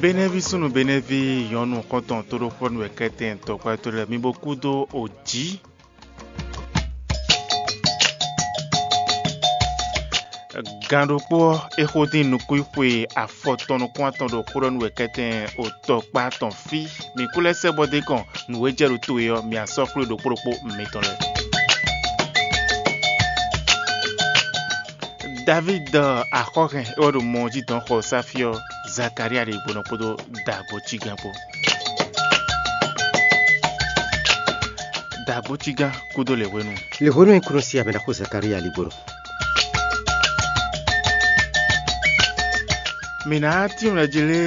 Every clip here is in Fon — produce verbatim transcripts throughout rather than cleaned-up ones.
Benɛví súnnu Benɛví nyɔ̌nu xɔ́ntɔn tóɖóxɔ́nú wɛ kɛ́tɛn tɔkpá tɔn lɛ́ɛ mi bo kú dó o jǐ. Gan ɖokpó ɔ́, é xo dín nukúnxwe afɔtɔn nukún atɔn ɖo xó ɖɔ nú wɛ kɛ́tɛn o tɔkpá tɔn fí. Mǐ kú lɛ́ sɛ́ bɔ dé kɔn nǔ e jɛ ɖo towe ɔ́, mǐ asɔ́ xwlé ɖokpó ɖokpó mitɔn lɛ́ɛ. Davídi axɔ́hɛn é wɛ ɖo mɔ jí dɔn xɔ sáfí ɔ́, Zakalía ɖe gbɔnɔ kpódó dǎgbócígán kpó. Dǎgbócígán kúdó lě hwenu. Lě hwenu e kúnɔ sí amɛ ná xo Zakalía ligbolo. Mǐ ná tínmɛ jí lé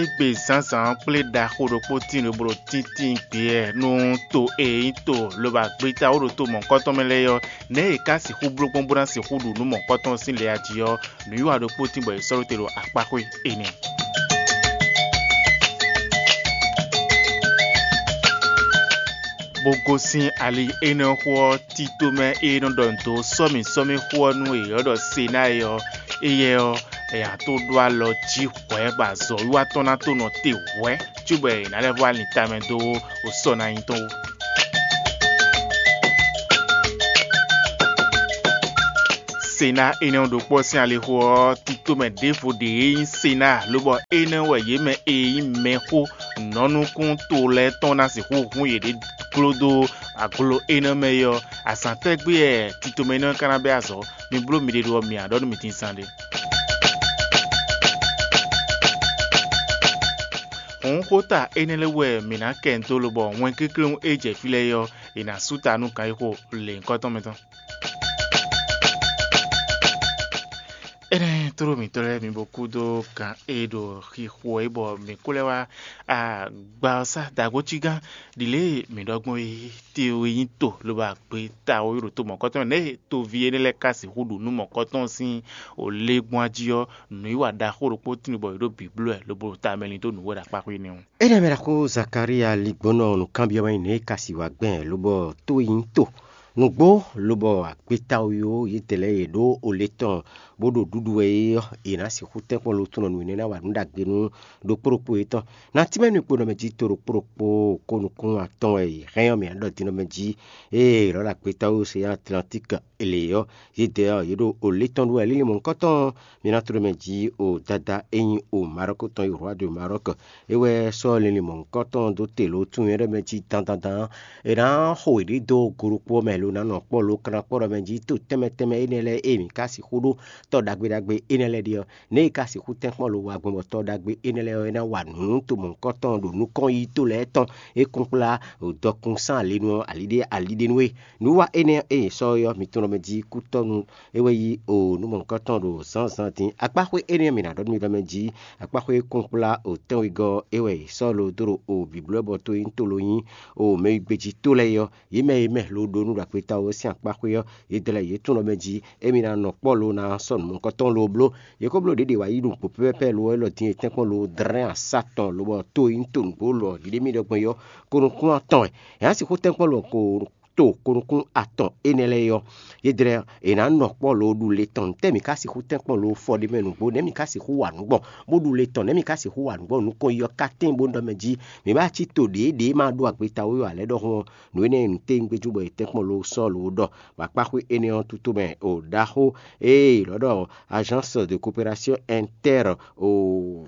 égbé zǎnzǎn ɔ́ kplé ɖaxó ɖokpó tíin ɖo bló tíntín gbeyɛ nú to e nyí to lobo agbeta wó ɖo to mɔ̌hunkɔtɔn mɛ lɛ́ɛ ɔ́, nɛ̌ è ka sixú bló gbɔn bó ná sixú ɖu nǔ mɔ̌hunkɔtɔn sín lě a jí ɔ́, nǔwiwa ɖokpó tín bɔ è sɔ́ ɖó te ɖo akpáxwé énɛ́. Bó gosín ali énɛ́ ɔ́ xó ɔ́, tito mɛ e nɔ ɖɔ nǔ dó sɔ́mǐ sɔ́mí xó ɔ́ nú è ɔ́ ɖɔ Senáa é ɔ́, éyɛ́ ɔ́, è nǎ tó ɖó alɔ jí hwɛ̌ bɔ azɔ̌wiwa tɔn ná tó nɔ te hwɛ̌, cóbɔ è nǎ lɛ́ vɔ́ alin tamɛ dó sɔ́ ná nyí tɔn wú. Sena énɛ́ ɔ́ ɖokpó ɔ́ sín alixo ɔ́, titomɛ ɖěvo ɖě e nyí Sena, lobɔ énɛ́ wɛ yě mɛ e nyí mɛxó nɔ́nukún to lɛ́ɛ tɔn ná sixú hun yěɖée gló dó aglo énɛ́ mɛ é ɔ́, azǎn tɛ́gbé wɛ titomɛ énɛ́ ɔ́ ka ná bɛ́ azɔ̌? Mi bló miɖée ɖó ɔ́, mi ǎ ɖɔ nú mi din zán ɖé. Hǔn xóta énɛ́ lɛ́ɛ wɛ mǐ ná kɛ dó lobɔ wɛnkéklé e jɛ fí lɛ́ɛ é ɔ́, è nǎ sú ta nú kan e xo lěhunkɔtɔn mɛ tɔn. Énɛ́ tló mǐtɔn lɛ́ɛ mi bo kú dó kan e ɖo xixo é bɔ mǐ kú lɛ́ wá gbawɔsá dǎgócígán ɖi lě e mǐ ɖɔ gbɔn é, te e nyí to lobo agbe ta ó ɖo to mɔ̌kɔtɔn nɛ́ e toví énɛ́ lɛ́ɛ ka sixú ɖu nú mɔ̌kɔtɔn sín o lé gbɔn ají ɔ́, nǔwiwa ɖaxó ɖokpó tíin bɔ è ɖó bǐbló ɛ lobo ɖo tamɛ lin dó nǔ wɛ ɖo akpáxwé nɛ́ ɔ́. Énɛ́ mɛ ɖaxó Zakalía ligbɔnɔ nǔkanbyɔ́ wɛ nyí nɛ̌ e ka sixú wá gbɛn lobɔ to e nyí to nǔgbó lobɔ agbeta ó yó yědɛɛ lɛ́ɛ e ɖó o lé tɔn bó ɖo ɖuɖu wɛ é ɔ́, è nǎ sixú tɛ́nkpɔ́n lo tunɔ nǔ énɛ́ ná wa nǔ ɖagbe nú ɖokpó ɖokpó yětɔn. Na tínmɛ nú kponɔ mɛ jí to ɖokpó ɖokpó ko nukún atɔn wɛ è hɛn ɔ́ mǐ ná ɖɔ din ɔ́ mɛ jí, ée è nɔ ɖo agbeta ó Océan Atlantique lě ɔ́, yědɛɛ ɔ́, yě ɖo o lě tɔn ɖu wɛ lílí mɔ̌hunkɔtɔn ɔ́, mǐ ná tló mɛ jí o dada e nyí o Marɔ́k tɔn e Rwa de Marɔ́k. É wɛ sɔ́ linlin mɔ̌hunkɔtɔn dó te lǒ tunwun nyɔ̌ɖɔ mɛ jí dandandan. È nǎ xo yěɖée dó go ɖokpó ɔ́ mɛ lo ná nɔ kpɔ́ lo kanakpɔ́ ɖɔ mɛ jí to tɛnmɛ tɛnmɛ énɛ́ lɛ́ɛ e mǐ ka sixú ɖó tɔ́ ɖagbe ɖagbe énɛ́ lɛ́ɛ ɖe ɔ́, nɛ̌ è ka sixú tɛ́nkpɔ́n lo wa gbɔn bɔ tɔ́ ɖagbe énɛ́ lɛ́ɛ ɔ́ é ná wa nǔ nú to mɔ̌hunkɔtɔn ɖo nukɔn yi to lɛ́ɛ tɔn e kún kplá dɔkun sín alinu ɔ́ aliɖé aliɖé nú é. Nǔwiwa énɛ́ e è sɔ́ ɔ́, mi tunwun ɖɔ mɛ jí kútɔ́nu é wɛ yí o nǔ mɔ̌hunkɔtɔn ɖo zǎnzǎn din. Akpáxwé énɛ́ ɔ́, mǐ ná ɖɔ nú mi ɖɔ mɛ jí akpáxwé kúnkplá o tɛ́nwegɔ́ ɔ́, é wɛ è sɔ́ lo dó ɖo o bǐblɔ́bɔ to e nyí to lo nyí o mɛ e gbéjí to lɛ́ɛ é ɔ́, yě mɛ e mɛ lo ɖó nú ɖo agbeta ɔ́ sín akpáxwé ɔ́, yě dlɛ́ yě tunwun ɖɔ mɛ jí émí ná nɔ kpɔ́ lo ná sɔ́ nǔ mɔ̌hunkɔtɔn lo bló. Yě ko bló ɖě ɖě wǎ yí ɖo nǔgbó pɛ́pɛ́pɛ́ lo ɔ́ élɔ́ din e tɛ́nkpɔ́n lo dlɛ́n asá tɔn lobɔ to e nyí to nǔgbó lɔ ɖiɖe mì ɖɔ gbɔn é ɔ́, ko nukún atɔn wɛ. È nǎ sixú tɛ́nkpɔ́n lo ko to ko nukún atɔn énɛ́ lɛ́ɛ é ɔ́, yě dlɛ́ è nǎ nɔ kpɔ́ lo ɖu le tɔn. Ntɛ́ mǐ ka sixú tɛ́nkpɔ́n lo fɔ ɖé mɛ nǔgbó? Nɛ̌ mǐ ka sixú wa nǔ gbɔn bó ɖu le tɔn? Nɛ̌ mǐ ka sixú wa nǔ gbɔn nukɔn yi ɔ́ ka tɛ́n bó ɖɔ mɛ jí mǐ bá cí to ɖěe ɖě ma ɖó agbeta ó yɔ alɛ̌ ɖɔhun ɔ́, nǔ énɛ́ e nǔ téwúngbéjú bɔ è tɛ́nkpɔ́n lo sɔ́ lo ɖɔ bɔ akpáxwé énɛ́ ɔ́ tútú mɛ o ɖaxó e è nɔ ɖɔ Agence de coopération inter o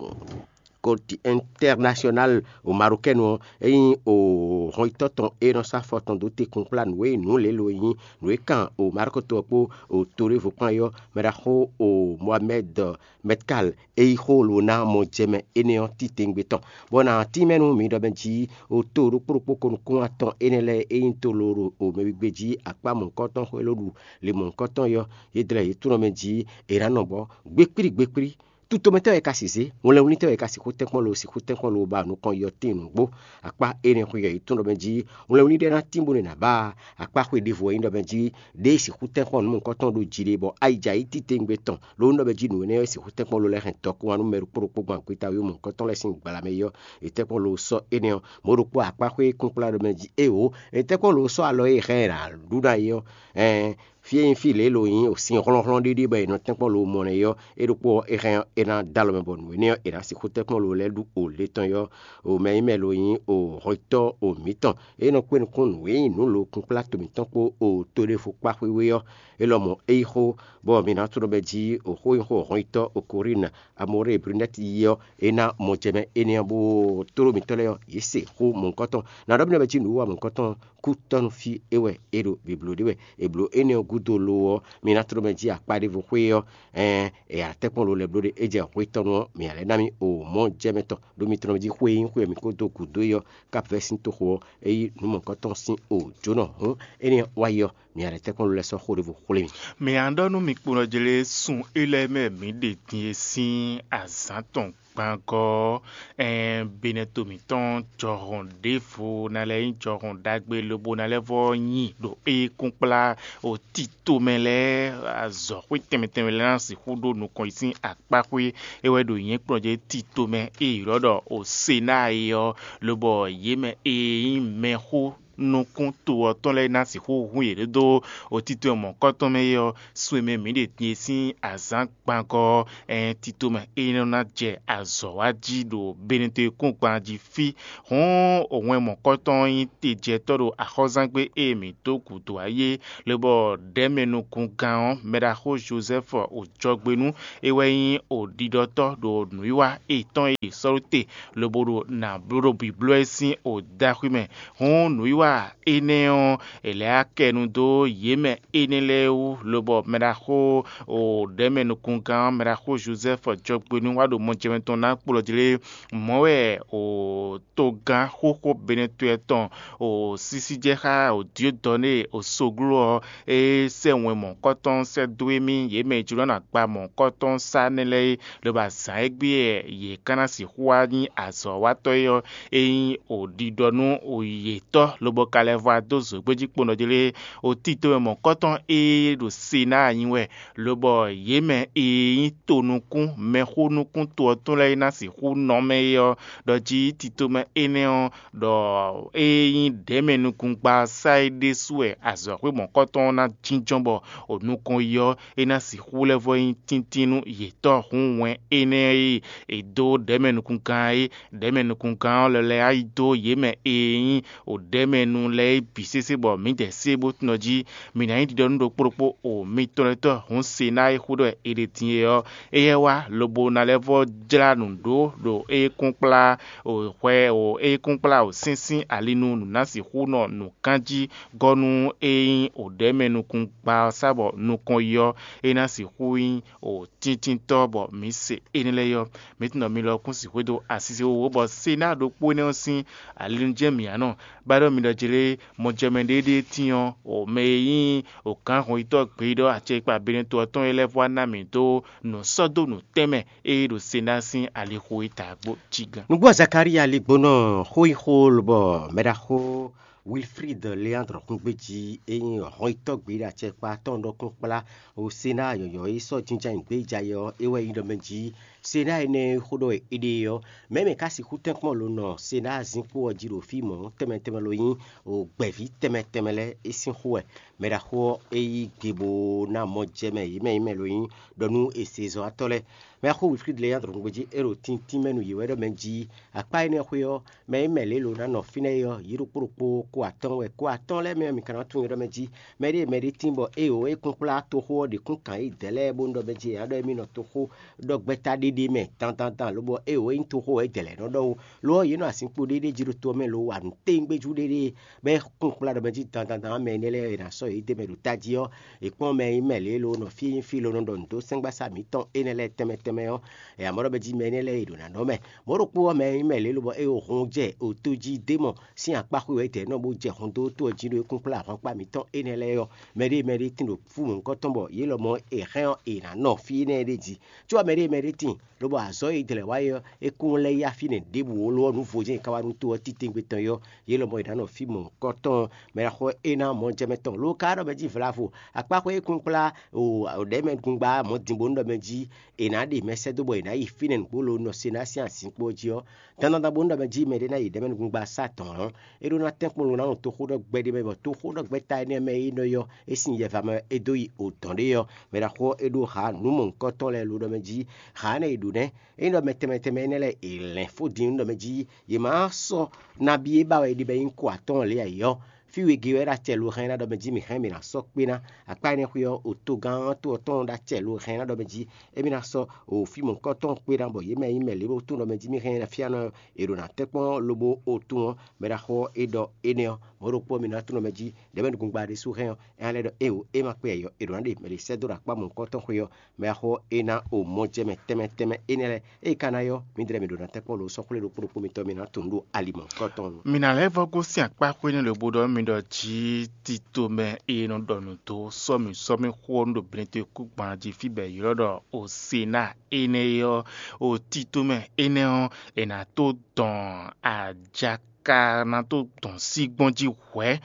côté international o marocaine ɔ́, é nyí o hɔnyitɔ́ tɔn e nɔ sɔ́ afɔ tɔn dó te kplá nǔ e nǔ lě lo e nyí nǔ e kan o Marɔ́k to ɔ́ kpó o to ɖěvo kpán é ɔ́, mɛ ɖaxó o Mohamed Metkal e yí xó lo ná mɔ jɛ mɛ énɛ́ ɔ́ titewungbe tɔn, bɔ è nǎ tínmɛ nú mi ɖɔ mɛ jí o to ɖokpó ɖokpó ko nukún atɔn énɛ́ lɛ́ɛ e nyí to lo ɖo o mɛwígbé jí akpá mɔ̌hunkɔtɔn xwé ló ɖu le mɔ̌hunkɔtɔn é ɔ́, yě dlɛ́ yě tunɔ mɛ jí è nǎ nɔ bɔ gbékplí gbékplí. Tutomɛtɔ́ wɛ ka sixú zé, wlɛnwlítɔ́ wɛ ka sixú tɛ́nkpɔ́n lo sixú tɛ́nkpɔ́n lo ba nukɔn yɔtín nǔgbó. Akpá énɛ́ xwé yɔ yě tún ɖɔ mɛ jí wlɛnwlí ɖé ná tín bó nɔ́ ná ba akpá xwé ɖěvo wɛ nyí ɖɔ mɛ jí ɖěe sixú tɛ́nkpɔ́n nǔ mɔ̌hunkɔtɔn ɖo jí ɖe bɔ ayǐjayǐ titewungbe tɔn ló nɔ́ ɖɔ mɛ jí nǔ énɛ́ wɛ sixú tɛ́nkpɔ́n lo lɛ́ hɛn dɔkun wá nú mɛ ɖokpó ɖokpó gbɔn agbeta wú mɔ̌hunkɔtɔn lɛ́ɛ sín gbla mɛ é ɔ́, è tɛ́nkpɔ́n lo sɔ́ énɛ́ ɔ́, mɔ̌ ɖokpó akpá xwé kúnkplá ɖɔ mɛ jí éeǒ, è tɛ́nkpɔ́n lo sɔ́ alɔ e hɛn è nǎ ɖu ná é ɔ́, ɛɛn Fí e nyí fí lě e lo nyí o sin hlɔ́nhlɔ́n ɖéɖé bɔ è nɔ tɛ́nkpɔ́n lo mɔ nɛ́ é ɔ́, é ɖokpó ɔ́, é hɛn ɔ́, é ná dó alɔ mɛ bɔ nǔ énɛ́ ɔ́, è nǎ sixú tɛ́nkpɔ́n lo lɛ́ɛ ɖu o lě tɔn é ɔ́, o mɛ nyí mɛ lo nyí o hɔnyitɔ́ o mǐtɔn. É nɔ kpé nukún nǔ e nyí nǔ lo kunkplá to mǐtɔn kpó o to ɖěvo kpá xwíxwí ɔ́, é lɔmɔ̌ é yí xó, bɔ mi ná tló bɛ́ jí o xó nyí xó hɔnyitɔ́ o Korín Amorée Brunɛ́ti yi ɔ́, é ná mɔ jɛ mɛ énɛ́ ɔ́, bó tló mǐtɔn lɛ́ɛ ɔ́, yě se xó mɔ̌hunkɔtɔn. Ná ɖɔ mi nɔ bɛ́ jí nǔwiwa mɔ̌hunkɔtɔn kútɔ́núfí é wɛ é ɖo bǐbló ɖé wɛ. È blǒ énɛ́ ɔ́ gúdo lo ɔ́, mi ná tló mɛ jí akpá ɖěvo xwé ɔ́, ɛɛn è ǎ tɛ́nkpɔ́n lo lɛ́ɛ bló ɖé, é jɛ hwetɔ́nu ɔ́, mǐ ǎ lɛ́ ná mì o mɔ̌ jɛ mɛ tɔn, ɖó mi tló mɛ jí xwé e nyí xwé e mǐ ko dó gǔdo é ɔ́, Kápu vɛ́ sín toxo ɔ́, é yí nǔ mɔ̌hunkɔtɔn sín o jǒnɔ hǔn énɛ́ ɔ́ wá yi ɔ́, mǐ ǎ lɛ́ tɛ́nkpɔ́n lo lɛ́ɛ sɔ́ xó ɖěvo xwlé mì. Mǐ ǎ ɖɔ nú mi kponɔjlé sun élɔ́ e mɛ mǐ ɖe din e sín azǎn tɔn gbangɔ ɔ́, ɛɛn benɛto mǐtɔn jɔhɔn ɖěvo ná lɛ́ nyí jɔhɔn ɖagbe lobo ná lɛ́ vɔ́ nyi ɖo ékúnkplá o tito mɛ lɛ́ɛ, azɔ̌xwé tɛnmɛ tɛnmɛ lɛ́ɛ ná sixú ɖó nukɔn yi sín akpáxwé é wɛ ɖo nyɛ̌kplɔ́n jí tito mɛ e ylɔ́ ɖɔ o Senáa é ɔ́, lobɔ yě mɛ e nyí mɛxó nukún to ɔ́ tɔn lɛ́ɛ ná sixú hun yě ɖó dó o tito e mɔ̌kɔtɔn mɛ é ɔ́, sun e mɛ mǐ ɖe din e sín azǎn gbangɔ ɔ́, ɛɛn tito mɛ é nɔ ná jɛ azɔ̌ wa jí ɖo benɛto e kún gban jí fí. Hǔn òwɛn mɔ̌kɔtɔn ɔ́ nyí tejɛtɔ́ ɖo axɔ́zángbé e mǐ dó gǔdo ayé, lobɔ ɖɛ̌mɛnukungán ɔ́, mɛɖaxó Jozɛ́fu o jɔgbe nú é wɛ nyí o ɖiɖɔtɔ́ ɖo nǔwiwa etɔn e è sɔ́ ɖó te, lobo ɖo nǎ bló ɖo bǐbló ɛ sín o dó axwí mɛ. Hǔn nǔwiwa énɛ́ ɔ́, è lɛ̌ akɛnu dó yě mɛ énɛ́ lɛ́ɛ wú, lobɔ mɛɖaxó o ɖɛ̌mɛ nukungán ɔ́, mɛɖaxó Jozɛ́fu jɔgbe nú wá ɖo mɔjɛmɛ tɔn ná kplɔ́ jlé. Mɔ̌ wɛ o togán xóxó Benɛtɔ́ tɔn o sísí jɛ xá o Diodɔnée o sogló ɔ́, é sɛ́ wɛn mɔ̌hunkɔtɔn sɛ́ dó émí, yě mɛ e jló ná gba mɔ̌hunkɔtɔn sá nɛ́ lɛ́ɛ é, lobo azǎn e gbé wɛ yě ka ná sixú wá nyí azɔ̌watɔ́ é ɔ́, é nyí o ɖiɖɔ nú o yětɔ́, lobo ka lɛ́ vɔ wá dó zǒgbéjí kponɔ jí lé. O tito mɛ mɔ̌hunkɔtɔn e ɖo Senáa nyi wɛ, lobɔ yě mɛ e nyí tonukún mɛxó nukún to ɔ́ tɔn lɛ́ɛ e ná sixú nɔ mɛ é ɔ́, ɖɔ jí tito mɛ énɛ́ ɔ́, ɖɔ ée nyí ɖɛ̌mɛnukungba ɔ́ sá é ɖésú wɛ azɔ̌xwé mɔ̌kɔtɔn ɔ́ ná jínjɔ́n bɔ o nukɔn yi ɔ́, é ná sixú lɛ́ vɔ́ nyí tíntín nú yětɔn. Hǔn wɛn énɛ́ e è dó ɖɛ̌mɛnukungán é, ɖɛ̌mɛnukungán ɔ́ lɔ lɛ́ wá yi dó yě mɛ e nyí o ɖɛ̌mɛnu lɛ́ɛ é bǐ sésé bɔ mǐdɛɛ sé bó tunɔ jí. Mǐ ná nyí ɖiɖɔ nú ɖokpó ɖokpó o mitɔn lɛ́ɛ tɔn. Hǔn se ná é xó ɖɔ è ɖe din é ɔ́, éyɛ́ wá lobo ná lɛ́ vɔ́ jlá nǔ ɖó ɖo ékúnkplá o hwɛ o ékúnkplá o sínsín ali nú nǔ ná sixú nɔ nǔ kán jí gɔ́ nú é nyí o ɖɛ̌mɛ nukúngba ɔ́ sá bɔ nukɔn yi ɔ́, é ná sixú nyí o tíntínntɔ́ bɔ mǐ se énɛ́ lɛ́ɛ ɔ́. Mǐ tunɔ mi lɔ kún sixú dó asise wowo bɔ Senáa ɖokpó énɛ́ ɔ́ sín ali nú jɛ́n mǐ ǎ nɔ. Ba ɖɔ mi ɖɔ jlé mɔjɛmɛ ɖéɖéé tín ɔ́, o mɛ e nyí o gǎn hɔnyitɔ́ gbeyíɖɔ acɛkpa Benɛto ɔ́ tɔn é lɛ́ vɔ wá ná mǐ dó nǔ sɔ́ dó nǔ tɛnmɛ e ɖo Senáa sín alixo e ta gbo jí gán. Nǔgbó Zakalía ligbónɔ xó yi xó lobɔ mɛɖaxó Wilfrid Leandre xúngbéjí e nyí hɔnyitɔ́ gbeyíɖɔ acɛkpa tɔn ɖɔkun kplá o Senáa yɔ̌yɔ́ e sɔ́ jínjɔ́n ayǐ gbé yi jɛ ayɛ ɔ́, é wɛ nyí ɖɔ mɛ jí Senáa énɛ́ e xó ɖɔ è ɖe ɔ́, mɛ̌ mɛ ka sixú tɛ́nkpɔ́n lo nɔ Senáa zinkpo ɔ́ jí ɖo fí mɔ̌ tɛnmɛ tɛnmɛ lo nyí o gbɛ̌ví tɛnmɛ tɛnmɛ lɛ́ɛ é sín xó wɛ. Mɛɖaxó ɔ́, é yí gbe bó ná mɔ jɛ mɛ yě mɛ yě mɛ lo nyí ɖɔ nú è se zɔ́watɔ́ lɛ́ɛ. Mɛxó Wilfrid Leandre nugbejí é ɖo tíntín mɛ nú yě wɛ ɖɔ mɛ jí akpá énɛ́ xwé ɔ́, mɛ e mɛ lě lo ná nɔ fínɛ́ é ɔ́, yě ɖokpó ɖokpó kó atɔ́ɔ́n wɛ. Kó atɔ́ɔ́n lɛ́ɛ mɛ ɔ́, mi ka ná tunwun ɖɔ mɛ jí mɛɖée mɛɖée tín bɔ éeǒ é kún kplá toxó ɔ́ ɖě kún kǎn yí dɛ̌ lɛ́ɛ bónú ɖɔ mɛ jí è nǎ ɖɔ émí nɔ toxó ɖɔ gbɛ́ta ɖéɖé mɛ dandandan, lobɔ éeǒ é nyí toxó wɛ é dɛ̌ lɛ́ɛ nɔ ɖɔ ó. Lo ɔ́, yě nɔ azinkpo ɖéɖé jí ɖo to ɔ́ mɛ lo wa nǔ téŋgbéjú ɖéɖé, bɔ é kún kplá ɖɔ mɛ jí dandandan ɔ́, mɛ énɛ́ lɛ́ɛ e è nǎ sɔ́ yě d'é mɛ ɖo tají ɔ́, è kpɔ́n mɛ e nyí mɛ lě e lo nɔ fí e nyí fí lo nɔ ɖɔ nǔ dó sɛ́ngbasá mǐtɔn énɛ́ lɛ́ɛ tɛnmɛ tɛnmɛ ɔ́, è nǎ mɔ ɖɔ mɛ jí mɛ énɛ́ lɛ́ɛ e ɖo nǎ nɔ mɛ. Mɔ̌ ɖokpó ɔ́, mɛ e nyí mɛ lě e lo bɔ é ɖo hun jɛ oto jí d'é mɔ sín akpá xwé wɛ é dɛ̌ nɔ bó jɛ hɔn dó tó ɔ́ jí ɖó é kún kplá ahwankpá mǐtɔn énɛ́ lɛ́ɛ ɔ́, mɛɖée mɛɖée tín ɖo fú mɔ̌hunkɔtɔn bɔ yě lɔmɔ̌ è hɛn ɔ́, è nǎ nɔ fí énɛ́ ɖé jí. Có ɔ́, mɛɖée mɛɖée tín, lobo azɔ̌ e è dlɛ̌ wá é ɔ́, é kún lɛ́ yá fínɛ́ ɖěbǔ ó, lo ɔ́, nǔ vo jɛ́n è ka wá nú to ɔ́ titewungbe tɔn é ɔ́, yě lɔmɔ̌ è nǎ nɔ fí mɔ̌hunkɔtɔn mɛ e ná xɔ é ná mɔjɛmɛ tɔn. Lo ka ɖɔ mɛ jí vlavo, akpáxwé e kún kplá o ɖɛ̌mɛgungba mɔ̌ din bónú ɖɔ mɛ jí è nǎ ɖe mɛ sɛ́ dó bɔ è nǎ yi fínɛ́ nǔgbó lo nɔ se ná sín azinkpo ɔ́ jí ɔ́, dandan bónú ɖɔ mɛ jí mɛɖé ná yi ɖɛ̌mɛnukúngba sá dɔ̌n ɔ́, é ɖó ná tɛ́nkpɔ́n lo ná nɔ toxóɖɔgbɛ́ ɖé mɛ, bɔ toxóɖɔgbɛ́ ta énɛ́ mɛ e nɔ yɔ é sín yɛva mɛ é dó yi odɔ̌n ɖé ɔ́, mɛ ɖaxó ɔ́ é ɖó ha nǔ mɔ̌hunkɔtɔn lɛ́ɛ lo ɖɔ mɛ jí ha énɛ́ e ɖǒ nɛ́. Ényí ɖɔ mɛ tɛnmɛ tɛnmɛ énɛ́ lɛ́ɛ è lɛ̌n fó din nú ɖɔ mɛ jí yě má sɔ́ nabí e ba wɛ è ɖe bɔ é nyí ko atɔ́ɔ́n lě ǎ é ɔ́, fí wegě wɛ é ɖo acɛ lo hɛn ná ɖɔ mɛ jí mǐ hɛn mǐ ná sɔ́ kpé ná. Akpá énɛ́ xwé ɔ́, otogán to ɔ́ tɔn ɖo acɛ lo hɛn ná ɖɔ mɛ jí émí ná sɔ́ o fí mɔ̌hunkɔtɔn kpé ná, bɔ yě mɛ e nyí mɛ lě bó tunwun ɖɔ mɛ jí mí hɛn ná fían ɔ́, è ɖo nǎ tɛ́nkpɔ́n lobo o tún ɔ́, mɛ ɖaxó ɔ́ é ɖɔ énɛ́ ɔ́, mɔ̌ ɖokpó ɔ́, mǐ ná tunwun ɖɔ mɛ jí ɖɛ̌mɛ nukúngba ɖésú hɛn ɔ́, é ná lɛ́ ɖɔ éeǒ, é ma kpé ǎ é ɔ́, è ɖǒ ná ɖe mɛ ɖě sɛ́ dó ɖo akpá mɔ̌hunkɔtɔn xwé ɔ́, mɛ axó é ná o mɔjɛmɛ tɛnmɛ tɛnmɛ énɛ́ lɛ́ɛ. Ée ka ná yɔ́, mǐdɛɛ mǐ ɖo ná tɛ́nkpɔ́n lo sɔ́ xwlé ɖokpó ɖokpó mitɔn mì ná tunwun ɖo ali mɔ̌hunkɔtɔn nu. Mi ná lɛ́ vɔ́ gosín akpá xwé nú lobo ɖɔ mi ɖɔ jǐ tito mɛ e nɔ ɖɔ nǔ dó sɔ́ mǐ sɔ́ mì xó ɔ́ nú ɖo blintɔ́ kúgban jí fí bɔ è ylɔ́ ɖɔ Osena énɛ́ é ɔ́, o tito mɛ énɛ́ ɔ́, è nǎ tó dɔn ajaka ná tó dɔn sí gbɔn jí hwɛ̌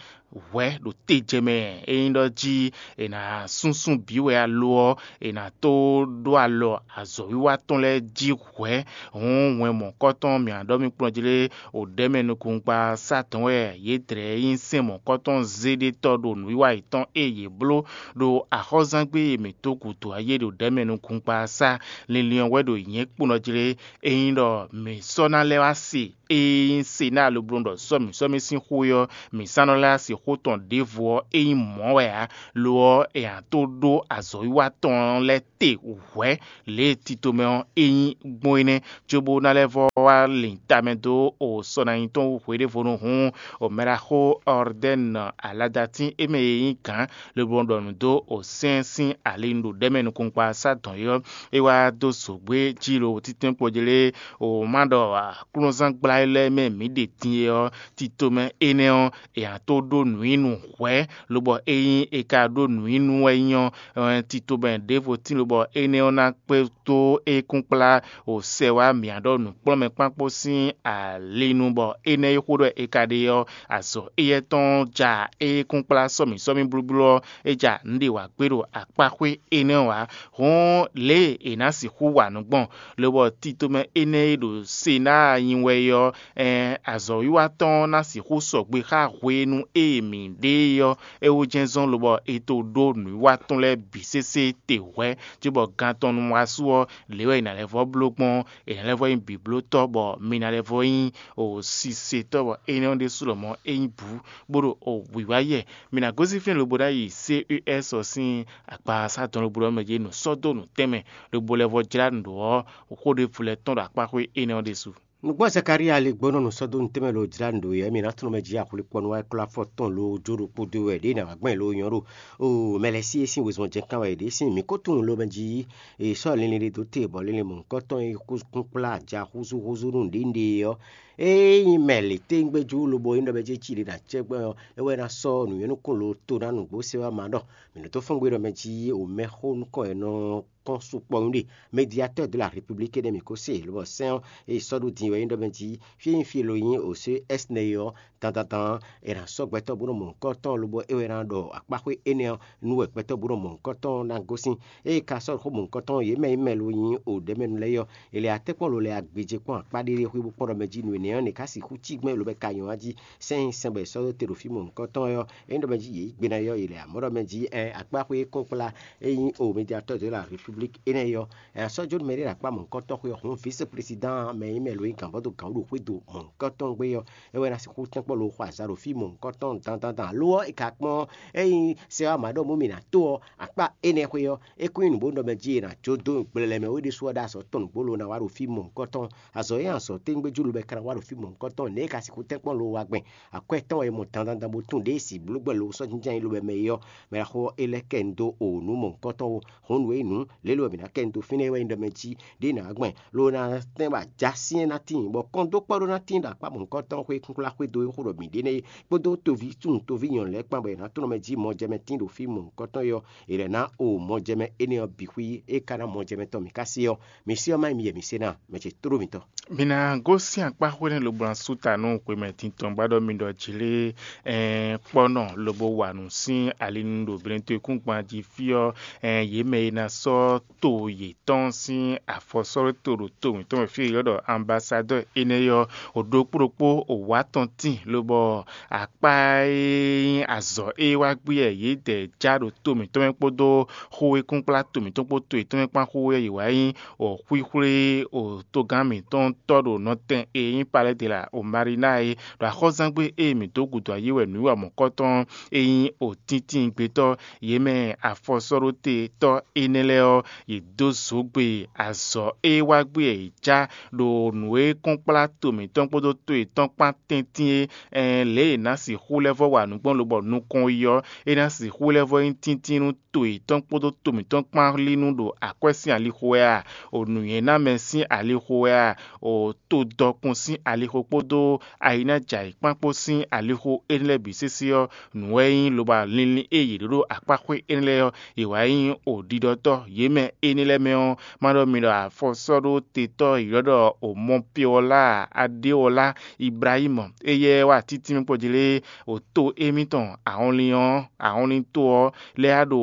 hwɛ̌ ɖo tejɛ mɛ. Ényí ɖɔ jí è nǎ súnsún bǐ wɛ alo ɔ́, è nǎ tó ɖó alɔ azɔ̌wiwa tɔn lɛ́ɛ jí hwɛ̌. Hǔn wɛn mɔ̌kɔ́tɔn mǐ ná ɖɔ mì kplɔ́n jí lé, òɖɛ́mɛ nukúngbasá tɔn wɛ yě dlɛ̌ nyí sɛ́n mɔ̌kɔ́tɔn zéɖétɔ́ ɖo nǔwiwa yětɔn e yě bló ɖo axɔ́zángbé e mǐ dó gǔdo ɔ́ yé ɖo ɖɛ̌mɛ nukúngbasá. Linlin ɔ́ wɛ ɖo nyɛ̌ kpónɔ jí lé, ényí ɖɔ mǐ sɔ́ ná lɛ́ wá se ée nyí Senáa lobló ɖɔ sɔ́ mǐ sɔ́ mì sín xó é ɔ́, mǐ sá nɔ lɛ́ wá se xó tɔn ɖěvo ɔ́, é nyí mɔ̌ wɛ ǎ. Lo ɔ́, è nǎ tó ɖó azɔ̌wiwa tɔn lɛ́ɛ te hwɛ̌ lě e tito mɛ ɔ́ é nyí gbɔn é nɛ́, cóbó ná lɛ́ vɔ́ wá lin tamɛ dó o sɔ ná nyí tɔn wú hweɖévonu hǔn, o mɛɖaxó Ɔrdɛ́n aladatín é mɛ e nyí gǎn lobo ɖɔ nǔ dó o sɛ́n sín ali ɖo ɖɛ̌mɛ nukúnkpa sá dɔn é ɔ́, é wá dó zǒgbé jí lo títɛ́nkpɔ́ jí lé, o má ɖɔ aklúnɔzán gbla é lɛ́ɛ mɛ mǐ ɖe din é ɔ́, tito mɛ énɛ́ ɔ́, è nǎ tó ɖó nǔ nyi nú hwɛ̌, lobɔ ényí è ka ɖó nǔ nyi nú wɛ nyí ɔ́, tito mɛ ɖěvo tín lobɔ énɛ́ ɔ́ ná kpé dó é kúnkplá o sɛ wá mǐ ɖɔ nǔkplɔ́nmɛkpákpó sín ali nu, bɔ énɛ́ e xó ɖɔ è ka ɖe ɔ́, azɔ̌ éyɛ́ tɔn ja é kúnkplá sɔ́mǐ sɔ́mǐ blúblú ɔ́, é ja nǔ ɖě wǎ gbé ɖo akpáxwé énɛ́ ɔ́ ǎ. Hǔn lě e è nǎ sixú wa nǔ gbɔn, lobɔ tito mɛ énɛ́ e ɖo Senáa nyi wɛ é ɔ́, ɛɛn azɔ̌wiwa tɔn ɔ́ ná sixú sɔgbe xá hwenu e mǐ ɖe é ɔ́, é wú jɛ́n zɔ́n lobɔ è to ɖó nǔwiwa tɔn lɛ́ɛ bǐ sésé te hwɛ̌, cóbɔ gan tɔn nu wá su ɔ́, lě wɛ è nǎ lɛ́ vɔ́ bló gbɔn, è nǎ lɛ́ vɔ́ nyí bǐblótɔ́, bɔ mi ná lɛ́ vɔ́ nyí o sisetɔ́, bɔ énɛ́ ɔ́ ɖésú lɔmɔ̌ é nyí bǔ, bó ɖo o wǐwá yɛ. Mi ná gosín fínɛ́ lobo ná yi C E S ɔ́ sín akpasá tɔn lobo ɖɔ mɛ jí nǔ sɔ́ dó nǔ tɛnmɛ, lobo lɛ́ vɔ́ jlá nǔ ɖó ɔ́, xó ɖěvo lɛ́ɛ tɔn ɖo akpáxwé énɛ́ ɔ́ ɖésú. Nǔgbó Zakalía ali gbɔn nɔ nǔ sɔ́ dó nǔ tɛnmɛ lo jlá nǔ ɖó yɛ, mi ná tunɔ mɛ jí axwlé kpɔ́nú wá klɔ́ afɔ tɔn lo jó ɖokpó dó wɛ ɖěe nǎ wá gbɛn lo nyɔ́ ɖo o mɛ lɛ́ɛ sí e sín wezun jɛ́n kán wɛ ɖě sín mǐ ko tunwun lo mɛ jí è sɔ́ linlin ɖé dó te bɔ linlin mɔ̌hunkɔtɔn e kún kplá aja húzúhúzú nú nǔɖénúɖé ɔ́, ényí mɛ lě téngbéjú lobo nyí ɖɔ mɛ jí cí ɖě ɖo acɛ́gbɛ́n ɔ́, é wɛ ná sɔ́ nǔnywɛ́núkún lo to ná nǔgbó se wá ma ɖɔ mǐ nɔ dó fɔ́n gbe ɖɔ mɛ jí o mɛxó nukɔn e nɔ kɔn sukpɔ́ nyí ɖe médiateur de la République énɛ́ mǐ ko se lobɔ sɛ́n ɔ́ e sɔ́ ɖó din wɛ nyí ɖɔ mɛ jí fí e nyí fí e lo nyí o C E S nɛ́ é ɔ́, dandandan è nǎ sɔ́ gbɛtɔ́ bó nɔ mɔ nǔkɔntɔn lobo é wɛ ná ɖɔ akpáxwé énɛ́ ɔ́ nú wɛ gbɛtɔ́ bó nɔ mɔ nǔkɔntɔn ná gosín. Ée ka sɔ́ xó mɔ nǔkɔntɔn yě mɛ nyí mɛ lo nyí o ɖɛ̌mɛnu lɛ́ɛ é ɔ́, è lɛ atɛ́kpɔ́n lo lɛ agbějé kpɔ́n akpá ɖé ɖé xwé bó kpɔ́n ɖɔ mɛ jí nǔ énɛ́ ɔ́, nɛ̌ ká sixú cí gbɛn lo bɛ ka nyɔ̌ wá jí sɛ́n sɛn bɔ è sɔ́ dó te ɖo fí mɔ nǔkɔntɔn ɔ́, é nyí ɖɔ mɛ jí yě yi gbe ná yɔ yě lɛ amɔ̌ ɖɔ mɛ jí ɛ akpáxwé kɔ́nkplá e nyí o médiateur de la République énɛ́ é ɔ́, ɛ sɔ́ jó nú mɛ ɖé ɖo akpá mɔ̌hunkɔtɔn xwé ɔ́, hǔn vice-président mɛ e nyí mɛ lo nyí gǎnbɔ́dó gǎn ɖo xwé do mɔ̌hunkɔtɔn gbé ɔ́, é wɛ ná sixú tɛ́nkpɔ́n lo xɔ azǎn ɖo fí mɔ̌hunkɔtɔn dandandan. Lo ɔ́, è ka kpɔ́n ényí sɛ wá mǎ ɖɔ mú mì nǎ tó ɔ́, akpá énɛ́ xwé ɔ́, é kún nyí nǔ bó nɔ mɛ jí è nǎ jó dó gblɛlɛ mɛ wé ɖésú ɔ́ ɖó azɔ̌ tɔn nǔgbó lo ná wá ɖo fí mɔ̌hunkɔtɔn. Azɔ̌ e azɔ̌ téngbéjú lo bɛ ka ná wá ɖo fí mɔ̌hunkɔtɔn, nɛ̌ è ka sixú tɛ́nkpɔ́n lo wá gbɛn? Akwɛ́ tɔn wɛ è mɔ dandandan bó tunwun ɖěe si blǒgbɛ́ lo sɔ́ jínjɔ́n nyi lo bɛ mɛ é ɔ́, mɛ ɖaxó ɔ́, é lɛ́ kɛ nu dó o nǔ mɔ̌hunkɔtɔn ó. Hǔn nǔ e nyí nǔ, lě e lo wɛ mǐ ná kɛ nu dó fínɛ́ é wɛ nyí ɖɔ mɛ jí ɖěe nǎ gbɛn, lo ná tɛ́n bɔ ajǎ syɛ́n ná tíin, bɔ kɔn dó kpɔ́ ɖó ná tíin ɖo akpá mɔ̌hunkɔtɔn xwé kúnkplá xwé dó é xó ɖɔ mǐ ɖe nɛ́ é, kpódó toví súnnu toví nyɔ̌nu lɛ́ɛ kpán bɔ è nǎ tlɔ́n mɛ jí mɔjɛmɛ tíin ɖo fí mɔ̌hunkɔtɔn é ɔ́, è lɛ̌ ná o mɔjɛmɛ énɛ́ ɔ́ bǐ xwí é ka ná mɔjɛmɛ tɔn mǐ ka se ɔ́, mǐ se ɔ́ má nyí mi yɛ mǐ se ná, mɛ ce tlóló mǐtɔn. Mi ná gosín akpá xwé nɛ́ lobo ná sú ta nú xwemɛ tintɔn gbá ɖɔ mi ɖɔ jlé ɛn kpɔ́nɔ lobo wa nǔ sín ali nu ɖo blɛ́ntoekúngban jí fí ɔ́, ɛn yě mɛ e ná sɔ́ to yětɔn sín afɔsɔ́ɖóto ɖo to mǐtɔn mɛ fí e è ylɔ́ ɖɔ ambasadɔ́ɔ énɛ́ ɔ́, o ɖokpó ɖokpó o wǎ tɔn tíin, lobɔ akpá e nyí azɔ̌ e wá gbé wɛ yědɛɛ já ɖo to mǐtɔn mɛ kpódó xó e kún kplá to mǐtɔn kpó to yětɔn mɛ kpán xó ɔ́, yě wá nyí o xwíxwlé o togán mǐtɔn tɔ́ ɖo nɔtɛn e nyí Palɛ́dela o Marína é, ɖo axɔ́zángbé e mǐ dó gǔdo ayé wɛ nǔwiwa mɔ̌kɔtɔn e nyí o tíntín gbetɔ́ yě mɛ afɔsɔ́ɖótetɔ́ énɛ́ lɛ́ɛ ɔ́, yě dó zǒgbe azɔ̌ e wá gbé wɛ yě já ɖo nǔ e kɔn kplá to mǐtɔn kpódó to yětɔn kpán tɛ́ntin é, ɛn lě e è nǎ sixú lɛ́ vɔ́ wa nǔ gbɔn lobɔ nukɔn yi ɔ́, é ná sixú lɛ́ vɔ́ nyí tíntín nú to yětɔn kpódó to mǐtɔn kpán lí nú ɖo akwɛ́ sín alixo wɛ a? O nǔnywɛ́námɛ sín alixo wɛ a? O to dɔkun sín alixo kpódó ayinájǎyǐkpán kpó sín alixo énɛ́ lɛ́ɛ bǐ sésé ɔ́, nǔ wɛ nyí lobo linlin e yě ɖó ɖo akpáxwé énɛ́ lɛ́ɛ ɔ́, yě wá nyí o ɖiɖɔtɔ́ yě mɛ énɛ́ lɛ́ɛ mɛ ɔ́, má ɖɔ mi ɖɔ afɔsɔ́ɖótetɔ́ yě ɖɔ ɖɔ o Mɔpiɔlá Adéwɔlá Ibrahímu, éyɛ́ wá títí mì kpɔ́ jí lé, o to émítɔn ahɔnlin ɔ́, ahɔnlin to ɔ́ lɛ́ɛ á ɖo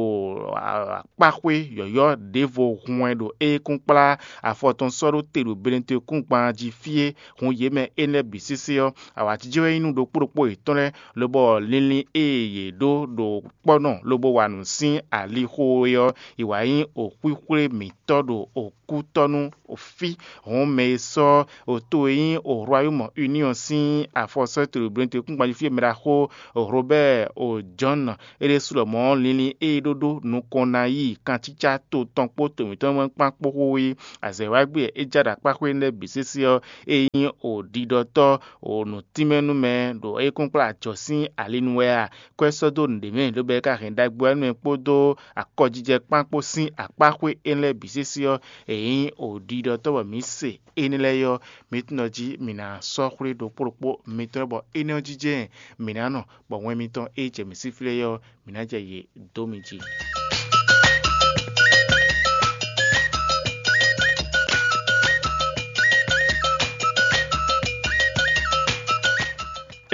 akpáxwé yɔ̌yɔ́ ɖěvo hun wɛ ɖo é kún kplá afɔ tɔn sɔ́ ɖó te ɖo Benetekúngban jí fí é, hun yě mɛ énɛ́ bǐ sésé ɔ́, awǎjijɛ wɛ nyí nú ɖokpó ɖokpó yětɔn lɛ́ɛ, lobɔ linlin e yě ɖó ɖo kpɔ́ nɔ lobo wa nǔ sín alixo é ɔ́, è wǎ nyí o xwíxwlé mǐtɔn ɖo o kútɔ́ nú o fí. Hɔn mɛ e sɔ́ o to e nyí o Royaume Union sín afɔsɔ́ e to ɖo Benetekúngban jí fí e mɛ ɖaxó Robɛ́ɛ o Jɔ́n é ɖésú lɔmɔ̌ linlin e é ɖó ɖó nukɔn ná yi kancícá to tɔn kpó to mǐtɔn mɛ kpán kpó xóxó yi. Azɛ̌ wá gbé e é já ɖo akpáxwé énɛ́ bǐ sésé ɔ́, é nyí o ɖiɖɔtɔ́ o nǔtínmɛnúmɛ ɖo é kún kplá ajɔ sín ali nu wɛ a? Kwɛ́ sɔ́ dó nǔɖé mɛ, lobo é ka hɛn ɖagbe ɔ́ nú mɛ kpódó akɔjijɛ kpán kpó sín akpáxwé énɛ́ lɛ́ɛ bǐ sésé ɔ́, è nyí o ɖiɖɔtɔ́ bɔ mǐ se énɛ́ lɛ́ɛ ɔ́, mǐ tunwun jí mǐ ná sɔ́ xwlé ɖokpó ɖokpó mitɔn lɛ́ɛ bɔ énɛ́ ɔ́ jijɛ mǐ ná nɔ, bɔ wɛn mitɔn e jɛ mǐ sín fí lɛ́ɛ ɔ́, mǐ ná jɛ yě dó mi jí.